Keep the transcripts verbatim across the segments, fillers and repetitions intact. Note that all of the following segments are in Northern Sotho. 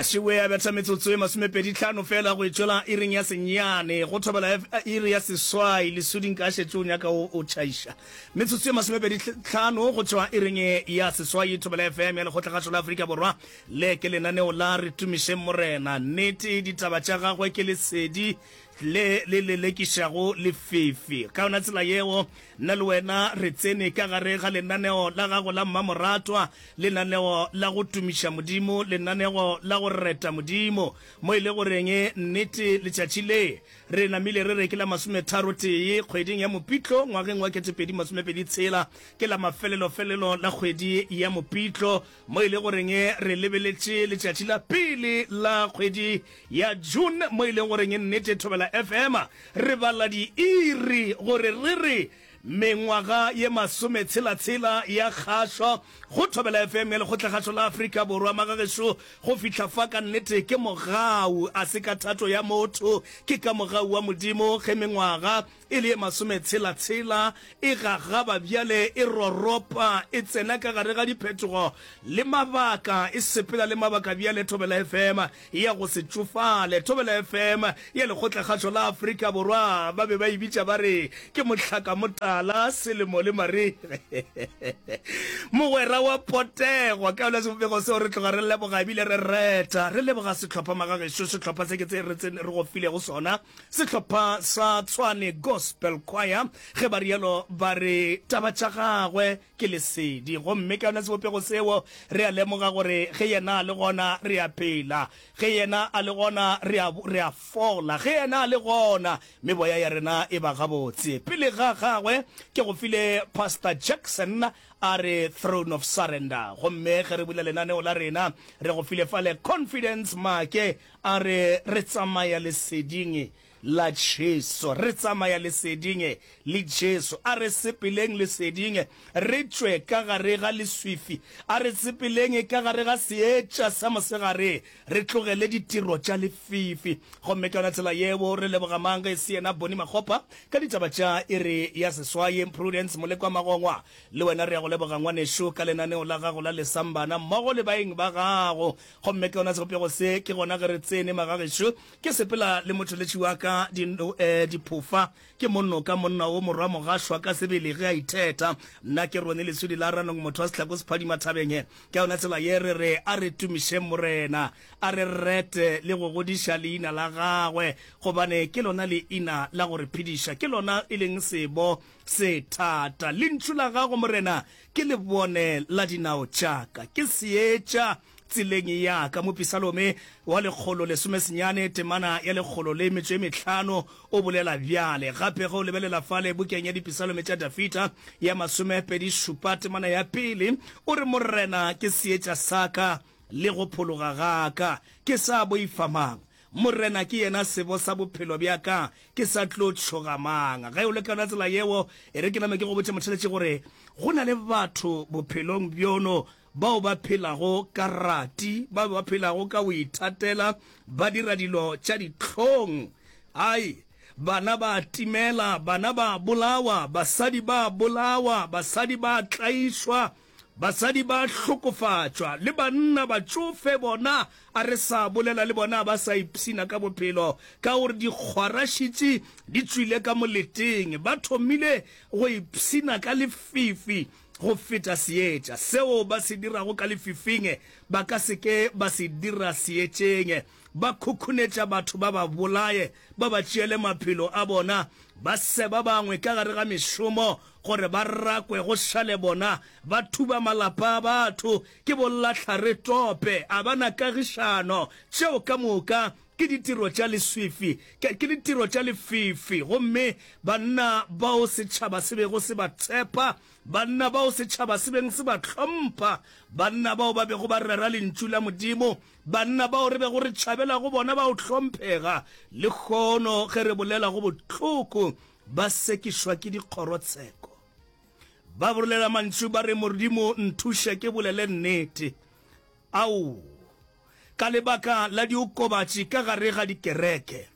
Šiwe a betha metsotso e masomepedi tlhano fela go e tšwela iring ya senyane go thobela iri ya seswai. Lesuding ka šetše o nyaka o tšhaiša. Metsotso e masomepedi tlhano go tšwa iring ya seswai, Thobela F M ya Lekgotlakgašo la Afrika Borwa. Le ke lenaneo la Re Tumišeng Morena. Nnete ditaba tša gagwe ke lesedi le le lelekišago lefifi. Ka yona tsela yeo, nna le wena re tsene ka gare ga lenaneo la gago la mmamoratwa, lenaneo la go tumiša Modimo, lenaneo la go reta Modimo, mo e le goreng nnete letšatši le re namile re re ke la masometharo-tee kgweding ya Mopitlo ngwageng wa ketepedi masomepedi tshela, ke la mafelelofelelo la kgwedi ya Mopitlo, mo e le goreng re lebeletše letšatši la pele la kgwedi ya June, mo e leng goreng nnete Thobela F M re bala diiri gore re re mengwaga ye masometshela-tshela ya kgašo go Thobela F M ya Lekgotlakgašo la Afrika Borwa. Magagešo, go fihla fa ka nnete ke mogau, a se ka thato ya motho, ke ka mogau wa Modimo ge mengwaga e le ye masometshela-tshela e gagaba bjale, e roropa, e tsena ka gare ga diphetogo le mabaka, e sepela le mabaka bjale. Thobela F M ya go se tšofale, Thobela F M ya Lekgotlakgašo la Afrika Borwa, ba be ba e bitša ba re ke mohlakamotala selemo le marega, mogwera wa potego. Ka yona sebopego seo re tloga re leboga ebile re reta, re leboga sehlopha magagešo, sehlopha se ke tse re re go filego sona, sehlopha sa Tshwane Gospel Choir. Ge ba rialo ba re taba tša gagwe ke lesedi, gomme ka yona sebopego seo re a lemoga gore ge yena a le gona re a phela, ge yena a le gona re a re a fola, ge yena a le gona meboya ya rena e ba gabotse. Pele ga gagwe ke go file Pastor Jackson a re Throne of Surrender, gomme ge re bula lenaneo la rena re go file fale Confidence Make a re re tsamaya leseding la Jesu, re tsamaya leseding le Jesu. A re sepeleng leseding, re tšwe ka gare ga leswifi. A re sepeleng ka gare ga seetša sa mosegare, re tlogele ditiro tša lefifi. Gomme ka yona tsela yeo re leboga mang ge e se yena Boni Makgopa ka ditaba tša iri ya seswai. Prudence Molekwa Magongwa, le wena re ya go leboga ngwanešo ka lenaneo la gago la Lesambana mmogo le baeng ba gago. Gomme ka yona sebopego se ke gona ge re tsene magagešo. Ke sepela le motšweletši wa ka diphofa, ke monnoka monna wo morwa mogašwa ka sebele ge a itheta. Nna ke Rone Lesudi la Ranong, motho wa sehlako sephadima thabeng. Ka yona tsela ye re re a re tumišeng Morena, a re rete le go godiša leina la gagwe, gobane ke lona leina la go re phediša, ke lona e leng sebo se thata. Lentšu la gago Morena ke lebone la dinao tša ka, ke seetša tseleng ya ka. Mopisalome wa lekgolo lesomesenyane temana ya lekgolo le metšo e mehlano o bolela bjale. Gape ge o lebelela fale bukeng ya Dipisalome tša Dafida ya masomepedi šupa temana ya pele, o re Morena ke seetša sa ka le go phologa ga ka, ke sa boifa mang? Morena ke yena sebo sa bophelo bja ka, ke sa tlo tšhoga mang? Ge o le ka yona tsela yeo, e re ke name ke go botše motheletši gore go na le batho bophelong bjono bao ba phelago ka rati, bao ba phelago ka go ithatela, ba dira dilo tša dihlong. Ai, bana ba timela, bana ba bolawa, basadi ba bolawa, basadi ba tlaišwa, basadi ba hlokofatšwa, le banna batšofe bona a re sa bolela le bona ba sa ipshina ka bophelo, ka gore dikgwarašitši di tšwile ka moleteng, ba thomile go ipshina ka lefifi go feta seetša. Seo ba se dirago ka lefifing ba ka se ke ba se dira seetšeng. Ba khukhunetša batho ba ba bolaye, ba ba tšeele maphelo a bona, ba seba bangwe ka gare ga mešomo gore ba rakwe go šale bona, ba thuba malapa a batho, ke bollahlare-tope, a ba na kagišano. Tšeo ka moka ke ditiro tša leswifi, ke, ke ditiro tša lefifi. Gomme banna bao setšhaba se bego se ba tshepa, banna bao setšhaba se beng se ba hlompha, banna bao ba bego ba rera Lentšu la Modimo, banna bao re bego re tšhabela go bona ba o hlomphega, lehono ge re bolela go bohloko, ba sekišwa ke dikgorotsheko. Ba bolela mantšu ba re, Modimo, nthuše ke bolele nnete. Ao, ka lebaka la diokobatši ka gare ga dikereke,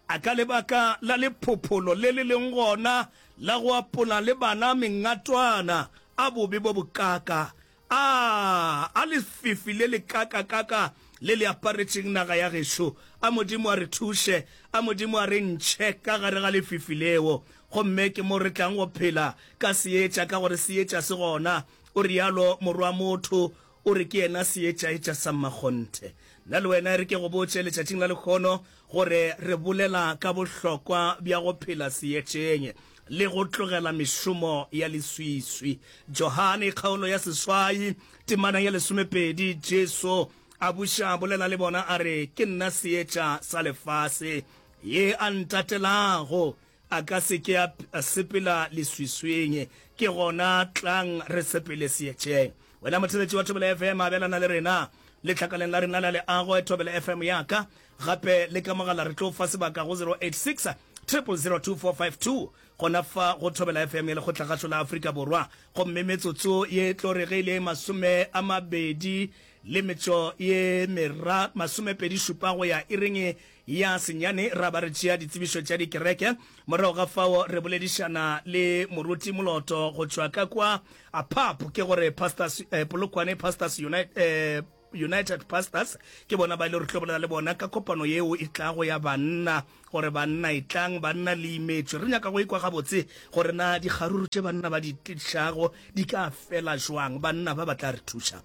a ka lebaka la lephopholo le le leng gona la go apola le bana mengatwana, a bobe bo bokaka, a, a lefifi le lekakakaka le le aparetšeng naga ya gešo. A Modimo a re thuše, a Modimo a re ntšhe ka gare ga lefifi leo. Gomme ke mo re tlang go phela ka seetša, ka gore seetša se gona. O realo Morwamotho, o re ke yena seetšaetša sa mmakgonthe. Nna le wena e re ke go botše letšatšing la lehono gore re bolela ka bohlokwa bja go phela seetšeng le go tlogela mešomo ya leswiswi. Johane kgaolo ya seswai temana ya lesomepedi, Jesu a buša a bolela le bona a re, Ke nna seetša sa lefase. Ye a ntatelago a ka se ke a sepela leswiswing. Ke gona tlang re sepele seetšeng. Wena motheeletši wa Thobela F M, abelana le rena letlakaleng la rena la leago at Thobela F M ya ka. Gape le ka mogala re tlo fa sebaka go zero eight six, triple zero two four five two gona fa go Thobela F M ya Lekgotlakgašo la Afrika Borwa. Gomme metsotso ye tlo re ge e le masome a mabedi le metšo ye mera masomepedi šupa go ya iring ya senyane ra ba re tšea ditsebišo tša dikereke. Morago ga fao re boledišana le Moruti Moloto go tšwa ka kwa P A P, ke gore Pastors, eh, Polokwane Pastors United, eh, United Pastors, ke bona ba ile re tlo bolela le bona ka kopano yeo e tlago ya banna, gore banna e tlang, banna le imetšwe. Re nyaka go ikwa gabotse gore na dikgaruru tše banna ba di tlišago di ka fela jwang, banna ba ba tla re thuša.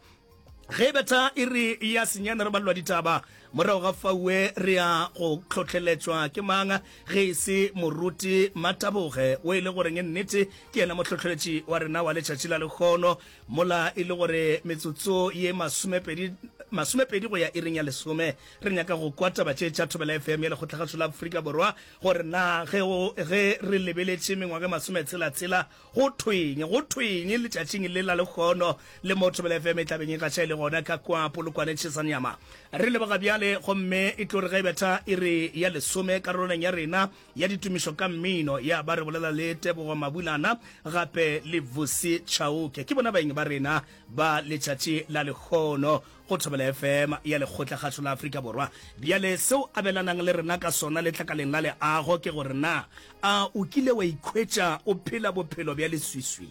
Ge betha e re ya senyane re balelwa ditaba, morago ga faue re ya go hlohleletšwa ke mang ge e se Moruti Mataboge, o e le goreng nnete ke yena mohlohleletši wa rena wa letšatši la lehono, mola e le gore metsotso ye masomepedi, masomepedi go ya iring ya lesome. Re nyaka go kwa taba tše tša Thobela F M ya Lekgotlakgašo la Afrika Borwa, gore na ge, ge re lebeletše mengwaga e masometshela-tshela Go thweng? Go thweng letšatšing le la lehono le mo Thobela F M e tla beng e gaša e le gona ka kwa Polokwane Tšhesanyama? Re leboga bjale, gomme e tlo re ge e betha iri ya lesome karolwaneng ya rena ya ditumišo ka mmino ya ba re bolela le Tebogo Mabulana gape le Vusi Chauke. Ke bona baeng ba rena ba letšatši la lehono go Thobela F M ya Lekgotlakgašo la Afrika Borwa. Bjale seo abelanang le rena ka sona letlakaleng la leago ke gore na a o kile wa ikhwetša o phela bophelo bja leswiswi?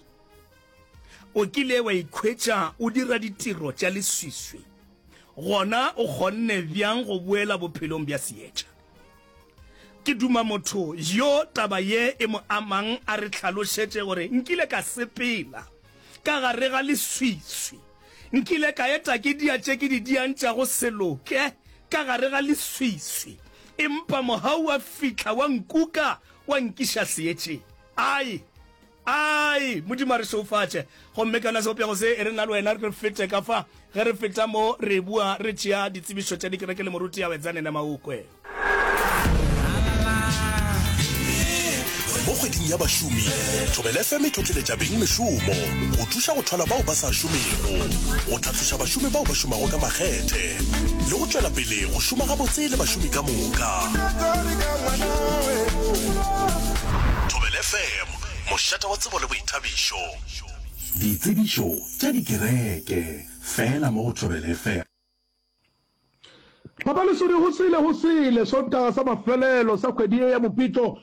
O kile wa ikhwetša o dira ditiro tša leswiswi? Gona o kgonne bjang go boela bophelong bja seetša? Ke duma motho yo taba ye e mo amang a re hlalošetše gore nkile ka sepela ka gare ga leswiswi, nkile ka eta ke dia tše ke di diang tša go se loke ka gare ga leswiswi, empa mogau wa fihla wa nkuka wa nkiša seetšeng. Ai! Ai! Modimo a re šeufatše. Gomme ka yona sebopego se, e re nna le wena re fete ka fa. Ge re feta mo, re bua re tšea ditsebišo tša dikereke le moruti Awedzane Nemaukwe. Mo kgweding ya bašomi, Thobela F M e tlotleletša beng mešomo go thuša go thwala bao ba sa šomego, go tlhatloša bašomi bao ba šomago ka makgethe le go tšwela pele go šoma gabotse le bašomi ka moka. Thobela F M, mošate wa tsebo le boithabišo. Ditsebišo tša dikereke, fela mo go Thobela F M. Papa Lesodi, go sele, go sele, Sontaga sa mafelelo sa kgwedi ye ya Mopitlo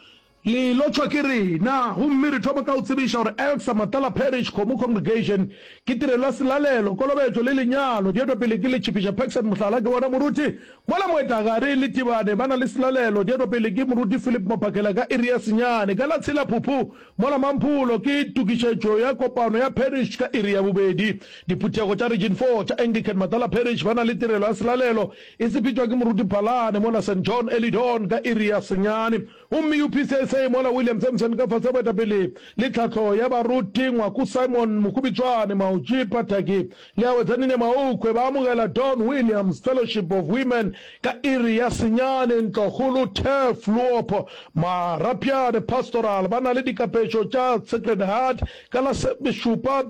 le lotšhwa ke rena. Gomme re thoma ka go tsebiša gore Elsa Matala Parish Kgomo Congregation ke tirelo ya selalelo, kolobetšo le lenyalo. Di etwa pele ke Letšhipiša Paxson Mohlala ke bona moruti mola Moetagare le Tibane ba na le selalelo. Di etwa pele ke moruti Philip Mophakela ka iri ya senyane. Ka la tshela Phuphu mola Mampholo ke tokišetšo ya kopano ya parish ka iri ya bobedi. Diphuthego tša Region Four tša Anglican Matala Parish ba na le tirelo ya selalelo e sepetšwa ke Moruti Phalane mola Saint John Early Dawn ka iri ya senyane. Gomme U P C S A mola William Sampson ka fase ga boetapele le tlhahlo ya baruti Ngwaku Simon Mokhubitswane Maotši Pataki le Awetsanine Maokwe ba amogela Don Williams Fellowship of Women ka iri ya senyane. Ntlokgolo Turfloop Marapyane Pastoral ba na le dikapešo tša Sacred Heart ka la šupa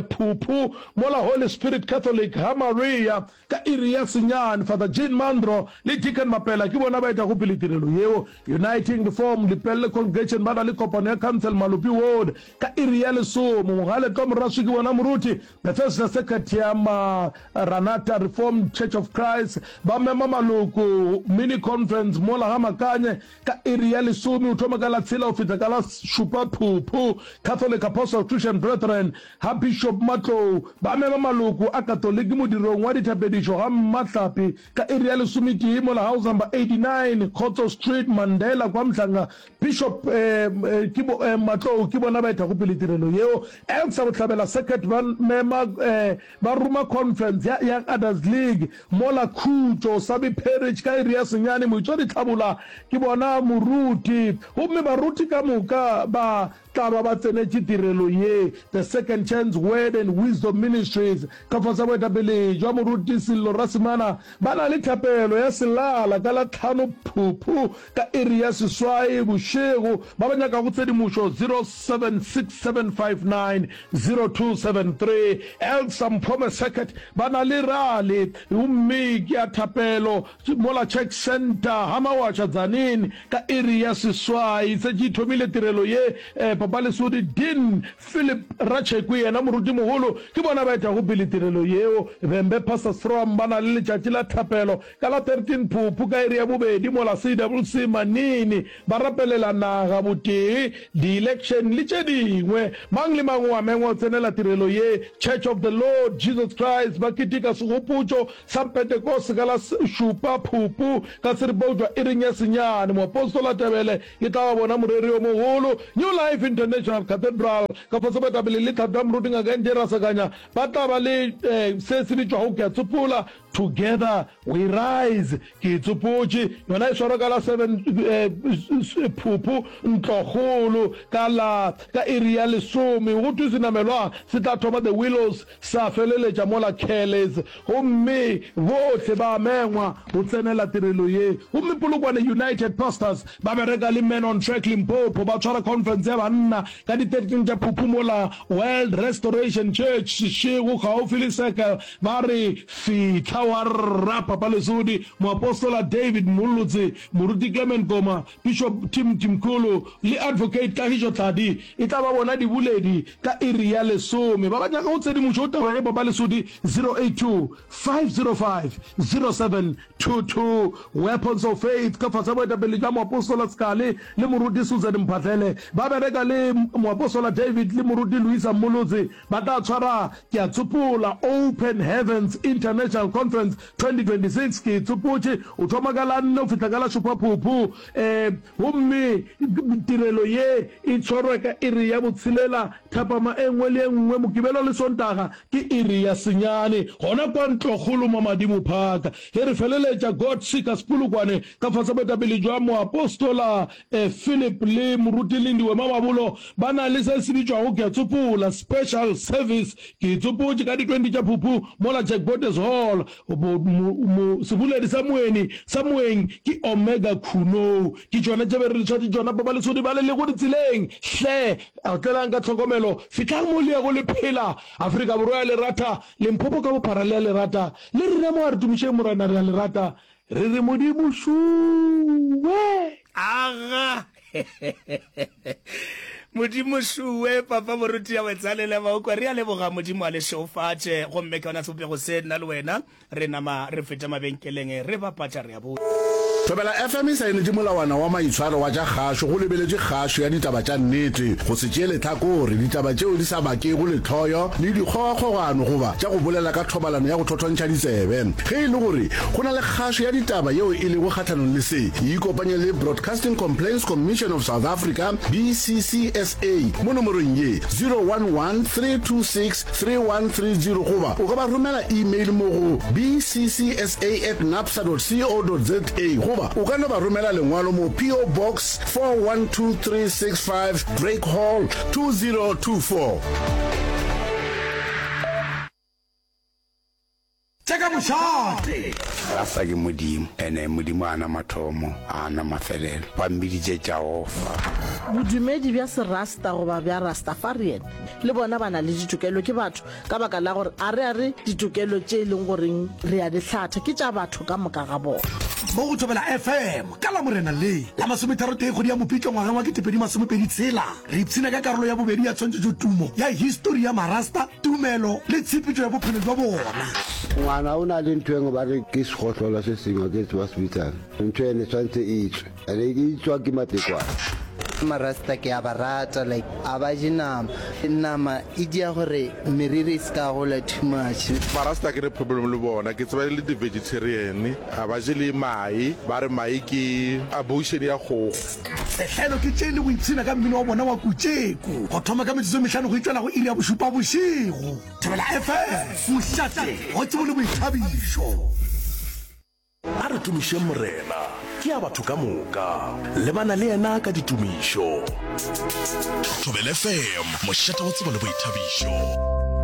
Phuphu mola Holy Spirit Catholic ga Maria ka iri ya senyane. Father Jean Mandro le Deacon Mapela ke bona ba etago pele tirelo yeo. United. Uniting Reform Lepelle Congregation ba na le kopano ya Council Malopi Ward ka iri ya lesome. Mogale Tlo Moraswi ke bona moruti. Bethesda Circuit ya Maranatha Reformed Church of Christ ba mema maloko mini conference mola ga Makanye ka iri ya lesome o thoma ka la tshela go fihla ka la šupa Phuphu. Catholic Apostle Christian Brethren ga Bishop Matlou ba mema maloko a Katoliki modirong wa dithapedišo ga Mmahlapi ka iri ya lesometee mola House Number eighty nine Khotso Street Mandela kwa Mhlanga. Bishop ke bo Matlou ke bona ba etago pele tirelo yeo. Elsa Bohlabela Circuit ba mema ba ruma conference ya Young Adults League mola Khutšo Sabi Parish ka iri ya senyane. Moitšwa Ditlhabola ke bona moruti gomme baruti ka moka ba tla ba ba tsenetše tirelo ye. The Second Chance Word and Wisdom Ministries ka fase ga boetapele bja Moruti Sello Rasimana ba na le thapelo ya selala ka la tlhano Phuphu ka iri ya seswai bošego. Ba ba nyakago tshedimošo zero seven six seven five nine zero two seven three. Elsa Mphome Circuit ba na le rally gomme ke ya thapelo mola Church Centre ga Mawatša Tzaneen ka iri ya seswai. Setše e thomile tirelo ye. Papa Lesodi Dean Philip Ratshekwe yena morutimogolo ke bona ba etago pele tirelo yeo. Vhembe Pastors Forum ba na le letšatši la thapelo ka la thirteen Phuphu ka iri ya bobedi mola C W C Manini ba rapelela naga, botee, di-election le tše dingwe. Mang le mang o a mengwa go tsenela tirelo ye. Church of the Lord Jesus Christ ba keteka segopotšo sa Pentekoste ka la šupa Phupu ka seripa go tšwa iring ya senyane. Moapostola Tebele e tla ba bona moreri yo mogolo. New Life International Cathedral ka fase boetapele le tlhahlo ya Moruti Ngaka N J Rasakanya ba tla ba le se se bitšwago Ke a Tsopola, Together We Rise. Ke e tsopotše yona e swarwa ka la seven Phuphu Ntlokgolo ka la ka iri ya lesome. Go thwe senamelwa se tla thoma The Willows sa feleletša mola Kelly's gomme bohle ba mengwa go tsenela tirelo ye. Gomme Polokwane United Pastors ba bereka le Men on Track Limpopo ba tshwara conference ya banna ka di thirteen tša Phuphu mola World Restoration Church Seshego kgaufsi le Circle ba re fihla wa rra Papa Lesodi, Moapostola David Mollotse, Moruti Clement Koma, Bishop Tim Timkholo le Advocate Kagišo Tladi e tla ba bona diboledi ka iri ya lesome. Ba ba nyakago tshedimošo go taba ye Papa Lesodi zero eight two, five zero five, zero seven two two. Weapons of Faith ka fase ga boetapele bja Moapostola Sekale le Moruti Susan Mphahlele ba bereka le Moapostola David le Moruti Luisa Mmolotse ba tla tshwara Ke a tsopola Open Heavens International Conference twenty twenty six ke e tsopotše, o thoma ka la nne go fihla ka la šupa Phuphu, um gomme tirelo ye e tshwarwa ka iri ya botshelela thapama e nngwe le e nngwe, Mokibelo le Sontaga ke iri ya senyane, gona kwa Ntlokgolo mo Madimo Park. Ge re feleletša God Seekers Polokwane ka fase boetapele bja Moapostola Philip le Moruti Lindiwe Mamabolo ba na le se se bitšwago Ke a Tsopola Special Service. Ke e tsopotše ka di twenty tša Phuphu mola Jack Botes Hall. Mo, mo, mo, seboledi sa moeni sa moeng ke Omega Khunou. Ke tšona tše be re le tshwatše tšona Pabalesodi ba le lego ditseleng. Hle, otlelang ka tlhokomelo. Fihlang mo le yago le phela. Afrika Borwa ya le rata. Limpopo ka bophara le a le rata. Le rena mo a re tumišeng Morena re a le rata. Re re Modimo šuwe. Aga! Modimo šuwe, Papa Moruti ya Wetsalele Baokwa, re a leboga, Modimo a le šeofatše. Gomme ka yona sebopego se, nna le wena re nama re feta mabenkeleng, re bapatša, re a boya. Thobela F M e saenetše molawana wa maitshwaro wa tša kgašo go lebeletše kgašo ya ditaba tša nnete, go se tšee lehlakore, ditaba tšeo di sa bakego lehloyo le dikgogakgogano goba tša go bolela ka thobalano ya go thothontšha ditsebe. Ge e le gore go na le kgašo ya ditaba yeo e lego kgahlanong le se, ikopanye le Broadcasting Complaints Commission of South Africa, B C C S A, mo nomorong ye, zero one one three two six three one three zero goba o ka ba romela email mo go B C C S A at napsa dot co dot za goba o ka no ba romela lengwalo mo P O Box four one two three six five Drake Hall two zero two four. Tša ka mošate. Rasta ke Modimo, ene Modimo a na mathomo, a na mafelelo. Ba mmiditše Jahofa. Bodumedi bja Serasta goba bja Rastafarian le bona ba na le ditokelo, ke batho, ka baka la gore a re a re ditokelo tše e leng goreng re a di hlatha ke tša batho ka moka ga bona. Mo go Thobela FM ka Lamorena le la masometharotee kgwedi ya Mopitlo ngwageng wa ketepedi masomepedi tshela, re ipshina ka karolo ya bobedi ya tshwantšhetšotumo ya histori ya Marasta, tumelo le tshepetšo ya bophelo bja bona. Ngwana o na le ntho engwe ba re ke segohlola se sengwe ke tseba se bitsang ntho ene tshwanetse e tswe ene e tswa ke matekwane. Marasta ke a ba rata like a ba je nama nama e dia gore meriri e se ka gola too much. Marasta ke ne problem le bona ke tseba e le di vegetarian a ba je le mae ba re mae ke abortion ya kgogo. Sehlelo ke tše le go ipshina ka mmino wa bona wa kutšeko go thoma ka metsotso e mehlano go itšwela go iri ya bošupa bošego. Thobela F M, mošate wa tsebo le boithabišo. A re tumišeng Morena, ke ya batho ka moka. Lebana le yena ka ditumišo. Thobela F M, mošate wa tsebo le boithabišo.